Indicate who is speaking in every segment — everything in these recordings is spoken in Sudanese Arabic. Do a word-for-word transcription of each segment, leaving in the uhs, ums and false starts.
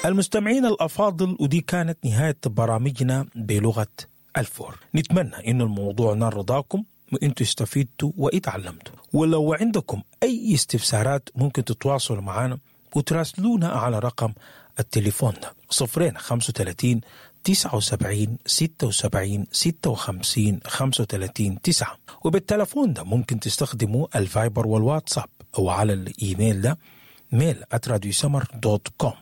Speaker 1: المستمعين الأفاضل، ودي كانت نهاية برامجنا بلغة الفور. نتمنى إنه الموضوع نال رضاكم وإنتوا استفدتوا وإتعلمتوا. ولو عندكم أي استفسارات ممكن تتواصلوا معنا وتراسلونا على رقم التليفون ده صفرين خمسة وثلاثين تسعة وسبعين ستة وسبعين ستة وخمسين خمسة وثلاثين تسعة. وبالتلفون ده ممكن تستخدموا الفايبر والواتساب أو على الإيميل ده mail at راديو سمر dot com،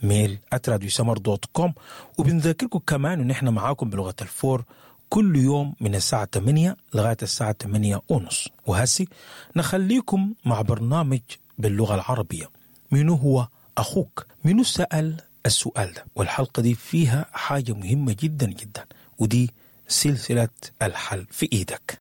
Speaker 1: mail at راديو سمر dot com. وبنذكركم كمان إن إحنا معاكم بلغة الفور كل يوم من الساعة ثمانية لغاية الساعة ثمانية ونص. وهسي نخليكم مع برنامج باللغة العربية، منو هو أخوك؟ منو سأل السؤال ده؟ والحلقة دي فيها حاجة مهمة جدا جدا، ودي سلسلة الحل في إيدك.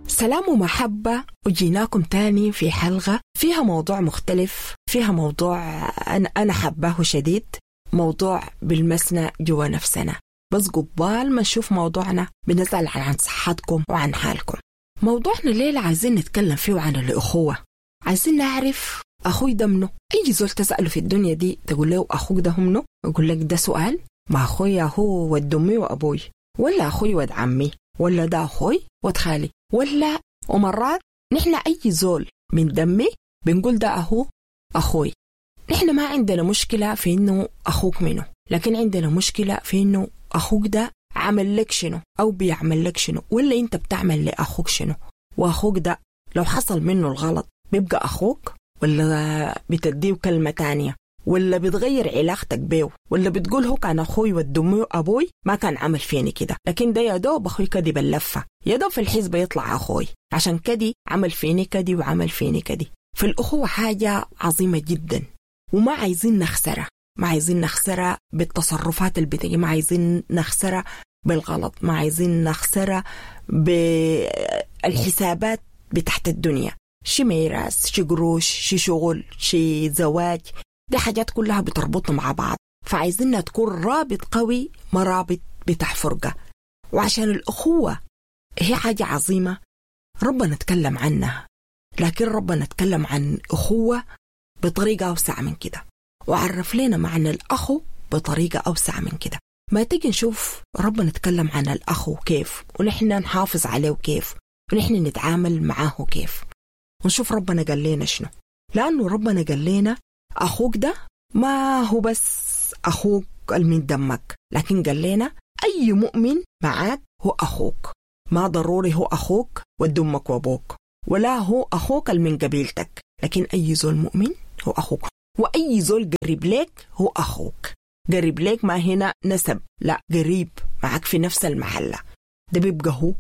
Speaker 2: سلام ومحبة، وجيناكم تاني في حلقة فيها موضوع مختلف، فيها موضوع أنا أنا حباه شديد، موضوع بالمسنا جوا نفسنا. بس قبال ما نشوف موضوعنا بنسأل عن صحتكم وعن حالكم. موضوعنا الليلة عايزين نتكلم فيه عن الأخوة. عايزين نعرف أخوي ده منه. أي زول تسأله في الدنيا دي تقول له أخوك ده منه، يقول لك ده سؤال، ما أخويا هو ود أمي وأبوي، ولا أخوي ود عمي، ولا ده أخوي ود خالي، ولا. ومرات نحن أي زول من دمي بنقول ده أهو أخوي. نحن ما عندنا مشكلة في إنه أخوك منه، لكن عندنا مشكلة في إنه أخوك ده عمل لك شنو أو بيعمل لك شنو، ولا أنت بتعمل لأخوك شنو. وأخوك ده لو حصل منه الغلط بيبقى أخوك، ولا بتديه كلمة تانية، ولا بتغير علاقتك بيه، ولا بتقول هو كان أخوي ود أمي وأبوي ما كان عمل فيني كده، لكن ده يا دوب أخوي كدي باللفة، يا دوب في الحزب يطلع أخوي عشان كدي عمل فيني كدي وعمل فيني كدي. فالأخوة حاجة عظيمة جدا، وما عايزين نخسرها، ما عايزين نخسرها بالتصرفات اللي بتجي، ما عايزين نخسرها بالغلط، ما عايزين نخسرها بالحسابات بتاعت الدنيا، شي ميراث، شي قروش، شي شغل، شي زواج، دي حاجات كلها بتربطنا مع بعض. فعايزينها تكون رابط قوي، ما رابط بتاع فرقة. وعشان الأخوة هي حاجة عظيمة ربنا اتكلم عنها، لكن ربنا اتكلم عن أخوة بطريقة أوسع من كده، وعرف لنا معنى الأخو بطريقة أوسع من كده. ما تيجي نشوف ربنا اتكلم عن الأخو كيف، ونحن نحافظ عليه كيف، ونحن نتعامل معاه كيف، ونشوف ربنا قال لنا شنو. لأنه ربنا قال لنا أخوك ده ما هو بس أخوك من دمك، لكن قال لنا أي مؤمن معاك هو أخوك. ما ضروري هو أخوك ود أمك وأبوك، ولا هو أخوك من قبيلتك، لكن أي زول مؤمن هو أخوك، وأي زول قريب لك هو أخوك. قريب لك ما هنا نسب، لا، قريب معك في نفس المحلة، ده بيبقى هو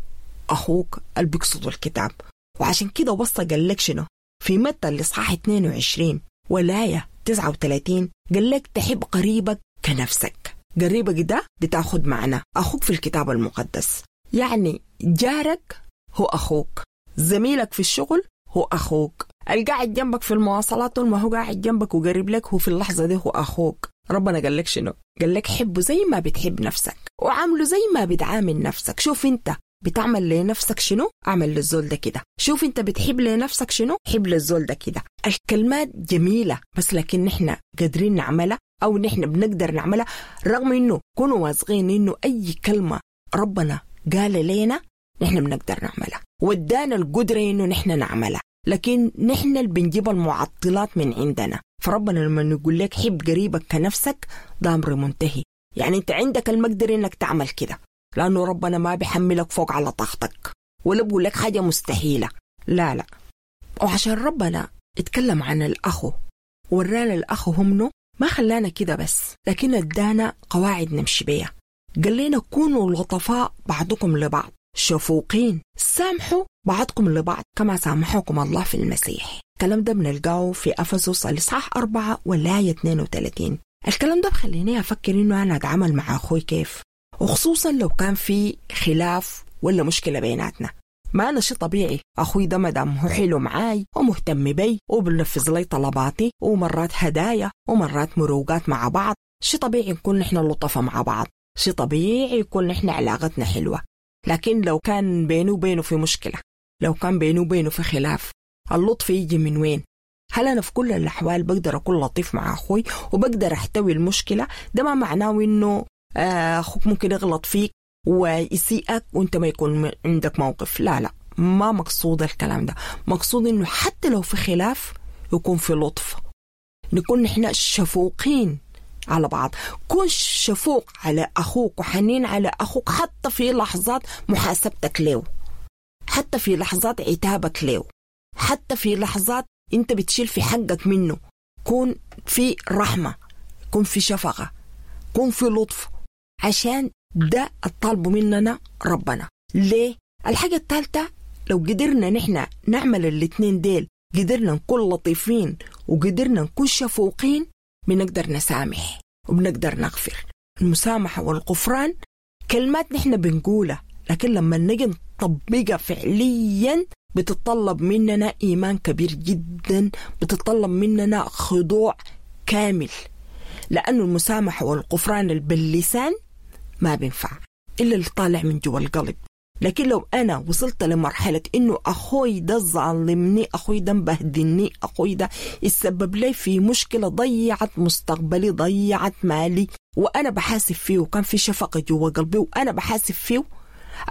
Speaker 2: أخوك اللي بيقصده الكتاب. وعشان كده وصى قال لك شنو في متى الإصحاح اثنين وعشرين ولاية تسعة وثلاثين، قال لك تحب قريبك كنفسك. قريبك ده بتاخد معنى أخوك في الكتاب المقدس، يعني جارك هو أخوك، زميلك في الشغل هو أخوك، القاعد جنبك في المواصلات طول ما هو قاعد جنبك وقريب لك هو في اللحظة دي هو أخوك. ربنا قال لك شنو؟ قال لك حبه زي ما بتحب نفسك، وعامله زي ما بتعامل نفسك. شوف انت بتعمل لنفسك شنو، اعمل للزول ده كده. شوف انت بتحب لنفسك شنو، حب للزول ده كده. الكلمات جميلة، بس لكن نحن قادرين نعملها او نحن بنقدر نعملها، رغم انه كونوا واثقين انه اي كلمة ربنا قال لنا نحن بنقدر نعملها، ودانا القدرة انه نحن نعملها، لكن نحن اللي بنجيب المعطلات من عندنا. فربنا لما نقول لك حب قريبك كنفسك ده امر منتهي، يعني انت عندك المقدرة انك تعمل كده، لأنه ربنا ما بيحملك فوق على طاقتك ولا بقول لك حاجة مستحيلة، لا لا. وعشان ربنا اتكلم عن الأخو ورانا الأخو همنه، ما خلانا كده بس، لكن ادانا قواعد نمشي بيها. قال لنا كونوا لطفاء بعضكم لبعض، شفوقين، سامحوا بعضكم لبعض كما سامحكم الله في المسيح. الكلام ده بنلقاه في أفسس الإصحاح أربعة والآية اثنين وثلاثين. الكلام ده بخليني أفكر إنه أنا أتعامل مع أخوي كيف، وخصوصا لو كان في خلاف ولا مشكلة بيناتنا. ما أنا شيء طبيعي، أخوي ده مدام هو حلو معاي ومهتم بي وبنفذ لي طلباتي ومرات هدايا ومرات مروقات مع بعض، شيء طبيعي نكون نحن لطفة مع بعض. شيء طبيعي يكون نحن علاقتنا حلوة. لكن لو كان بينه وبينه في مشكلة، لو كان بينه وبينه في خلاف، اللطف يجي من وين؟ هل أنا في كل الأحوال بقدر أكون لطيف مع أخوي وبقدر أحتوي المشكلة؟ ده ما معناه إنه أخوك ممكن يغلط فيك ويسيئك وإنت ما يكون عندك موقف. لا لا، ما مقصود الكلام ده. مقصود إنه حتى لو في خلاف يكون في لطف، نكون نحن شفوقين على بعض. كن شفوق على أخوك وحنين على أخوك حتى في لحظات محاسبتك له، حتى في لحظات عتابك له، حتى في لحظات انت بتشيل في حقك منه. كون في رحمة، كون في شفقة، كون في لطف، عشان ده الطالب مننا ربنا. ليه؟ الحاجة الثالثة، لو قدرنا نحن نعمل الاتنين ديل، قدرنا نكون لطيفين وقدرنا نكون شفوقين، بنقدر نسامح وبنقدر نغفر. المسامحة والغفران كلمات نحن بنقولها، لكن لما نجي نطبقها فعليا بتتطلب مننا إيمان كبير جدا، بتتطلب مننا خضوع كامل، لأنه المسامحة والغفران باللسان ما بينفع إلا اللي طالع من جوا القلب. لكن لو أنا وصلت لمرحلة إنه أخوي ده ظالمني، أخوي ده مبهدلني، أخوي ده يسبب لي في مشكلة ضيعت مستقبلي، ضيعت مالي، وأنا بحاسب فيه، وكان في شفقة جوا قلبي وأنا بحاسب فيه،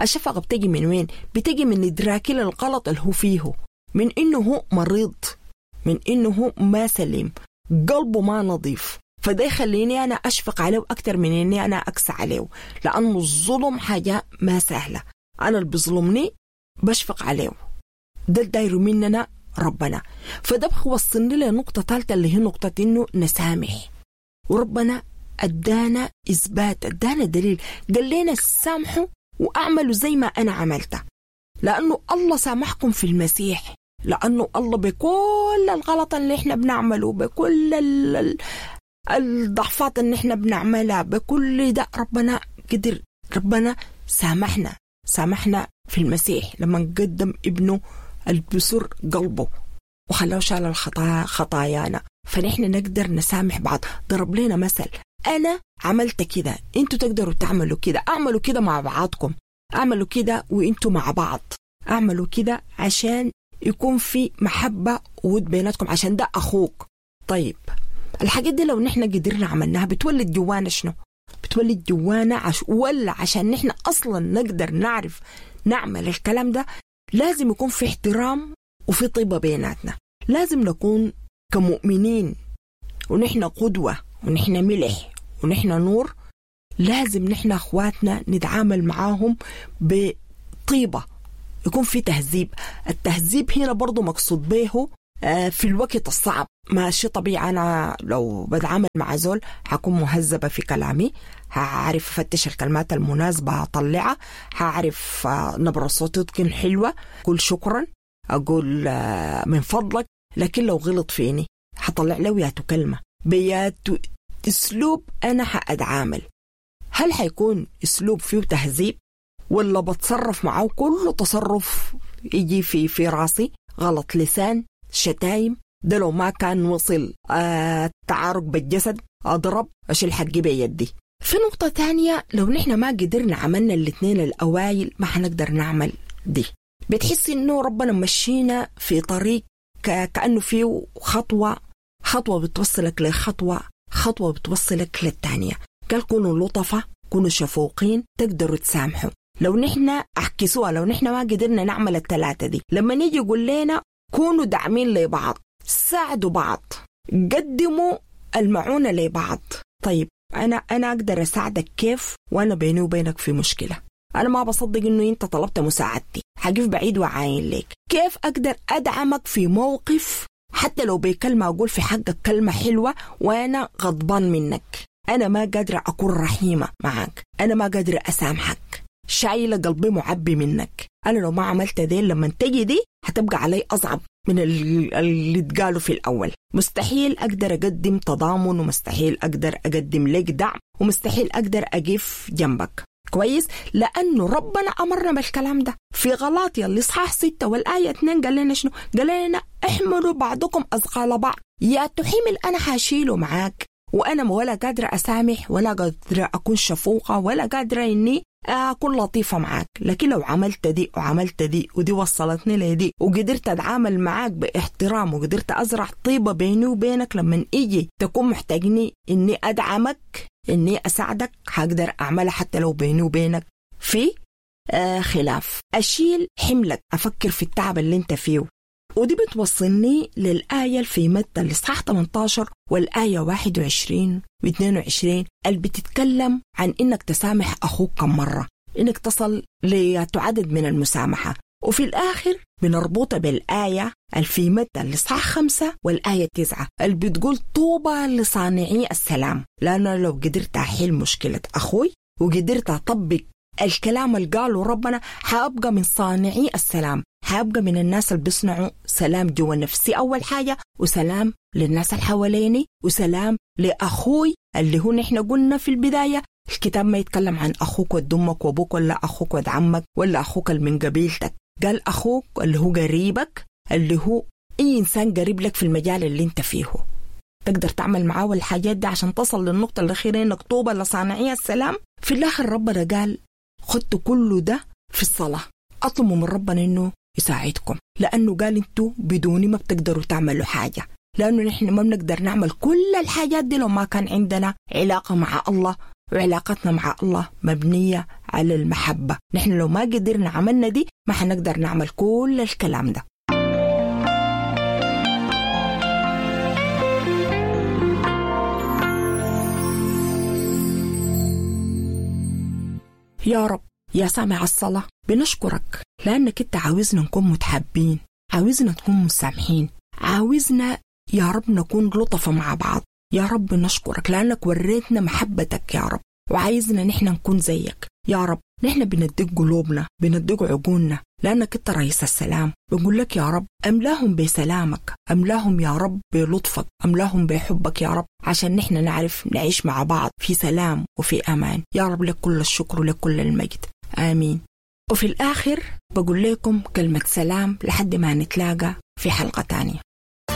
Speaker 2: الشفقة بتجي من وين؟ بتجي من إدراكي للغلط اللي هو فيه، من إنه هو مريض، من إنه هو ما سليم، قلبه ما نظيف. فده يخليني أنا أشفق عليه أكتر من إني أنا أكسى عليه، لأنه الظلم حاجة ما سهلة. أنا اللي بظلمني بشفق عليه، ده الداير مننا ربنا. فده بوصلني لنقطة ثالثة اللي هي نقطة إنه نسامح. وربنا أدانا إثبات، أدانا دليل، قال لنا سامحوا وأعملوا زي ما أنا عملته، لأنه الله سامحكم في المسيح، لأنه الله بكل الغلط اللي إحنا بنعمله، بكل الضعفات اللي إحنا بنعملها، بكل ده ربنا قدر، ربنا سامحنا، سامحنا في المسيح لما قدم ابنه البسر قلبه وخلاه شال الخطايا خطايانا. فنحن نقدر نسامح بعض. ضرب لنا مثل، أنا عملت كده، أنتوا تقدروا تعملوا كده، أعملوا كده مع بعضكم، أعملوا كده وأنتوا مع بعض، أعملوا كده عشان يكون في محبة وود بيناتكم، عشان ده أخوك. طيب الحاجات دي لو نحن قدرنا عملناها بتولد جوانا شنو؟ بتولد جوانا عش... ولا عشان نحن أصلا نقدر نعرف نعمل الكلام ده لازم يكون في احترام وفي طيبة بيناتنا. لازم نكون كمؤمنين ونحن قدوة ونحن ملح ونحن نور، لازم نحن أخواتنا نتعامل معاهم بطيبة، يكون في تهذيب. التهذيب هنا برضو مقصود به في الوقت الصعب. ماشي طبيعي أنا لو بتعامل مع زول هكون مهذبة في كلامي، هعرف أفتش الكلمات المناسبة هطلعها، هعرف نبرة صوتي تكون حلوة، أقول شكرا، أقول من فضلك. لكن لو غلط فيني هطلع له ياتو كلمة بياتو أسلوب أنا هأتعامل. هل حيكون أسلوب فيه تهذيب ولا بتصرف معه كل تصرف يجي في في راسي غلط لسان شتايم؟ ده لو ما كان وصل آه تعارك بالجسد، أضرب، أشيل حقي بيدي. في نقطة تانية، لو نحن ما قدرنا عملنا الاثنين الأوائل ما حنقدر نعمل دي. بتحس إنه ربنا مشينا في طريق كأنه فيه خطوة، خطوة بتوصلك لخطوة، خطوة بتوصلك للتانية. قال كونوا لطفة، كونوا شفوقين، تقدروا تسامحوا. لو نحن أحكسوها، لو نحن ما قدرنا نعمل الثلاثة دي، لما نيجي يقول لنا كونوا داعمين لبعض، ساعدوا بعض، قدموا المعونة لبعض. طيب أنا أنا أقدر أساعدك كيف وأنا بيني وبينك في مشكلة؟ أنا ما بصدق إنه أنت طلبت مساعدتي، حقف بعيد وعاين لك. كيف أقدر أدعمك في موقف حتى لو بكلمة أقول في حقك كلمة حلوة وأنا غضبان منك؟ أنا ما قادرة أكون رحيمة معك، أنا ما قادرة أسامحك، شايلة قلبي معبي منك. أنا لو ما عملت دي لما تجي دي هتبقى علي أصعب من اللي اتقالوا في الأول. مستحيل أقدر أقدم تضامن، ومستحيل أقدر أقدم لك دعم، ومستحيل أقدر أقف جنبك. كويس؟ لأنه ربنا أمرنا بالكلام ده في غلاطيا الإصحاح ستة والآية اثنين. قال لنا شنو؟ قال لنا احملوا بعضكم أثقال بعض. يا تحمل أنا حاشيله معاك، وأنا ولا قادرة أسامح ولا قادرة أكون شفوقة ولا قادرة إني أكون لطيفة معاك. لكن لو عملت دي وعملت دي ودي وصلتني لدي وقدرت أتعامل معاك باحترام وقدرت أزرع طيبة بيني وبينك، لما إجي تكون محتاجني إني أدعمك إني أساعدك هقدر أعملها حتى لو بيني وبينك في آه خلاف. أشيل حملك، أفكر في التعب اللي انت فيه. ودي بتوصلني للآية في متى الإصحاح ثمانية عشر والآية واحد وعشرين واثنين وعشرين اللي بتتكلم عن إنك تسامح أخوك كم مرة، إنك تصل لعدد من المسامحة. وفي الآخر بنربطها بالآية في متى الإصحاح خمسة والآية تسعة اللي بتقول طوبى لصانعي السلام. لأنه لو قدرت أحل مشكلة أخوي وقدرت أطبق الكلام اللي قاله ربنا حأبقى من صانعي السلام، حأبقى من الناس اللي بيصنعوا سلام جوا نفسي أول حاجة، وسلام للناس اللي حواليني، وسلام لأخوي اللي هو نحن قلنا في البداية الكتاب ما يتكلم عن أخوك ود أمك وأبوك ولا أخوك ود عمك ولا أخوك اللي من قبيلتك، قال أخوك اللي هو قريبك، اللي هو أي إنسان قريب لك في المجال اللي أنت فيه تقدر تعمل معاه الحاجات دي عشان تصل للنقطة الأخيرة إنك طوبى لصانعي السلام. في الآخر ربنا قال خدتوا كله ده في الصلاة، أطلبوا من ربنا إنه يساعدكم، لأنه قال أنتوا بدوني ما بتقدروا تعملوا حاجة، لأنه نحن ما بنقدر نعمل كل الحاجات دي لو ما كان عندنا علاقة مع الله، وعلاقتنا مع الله مبنية على المحبة. نحن لو ما قدرنا عملنا دي ما حنقدر نعمل كل الكلام ده. يا رب يا سامع الصلاة بنشكرك لأنك أنت عاوزنا نكون متحابين، عاوزنا نكون مسامحين، عاوزنا يا رب نكون لطفة مع بعض. يا رب نشكرك لأنك وريتنا محبتك يا رب، وعايزنا نحن نكون زيك يا رب. نحن بندق قلوبنا، بندق عقولنا، لأنك أنت رئيس السلام. بنقول لك يا رب أملاهم بسلامك، أملاهم يا رب بلطفك، أملاهم بحبك يا رب، عشان نحن نعرف نعيش مع بعض في سلام وفي أمان. يا رب لك كل الشكر ولك كل المجد، آمين. وفي الآخر بقول لكم كلمة سلام لحد ما نتلاقى في حلقة تانية.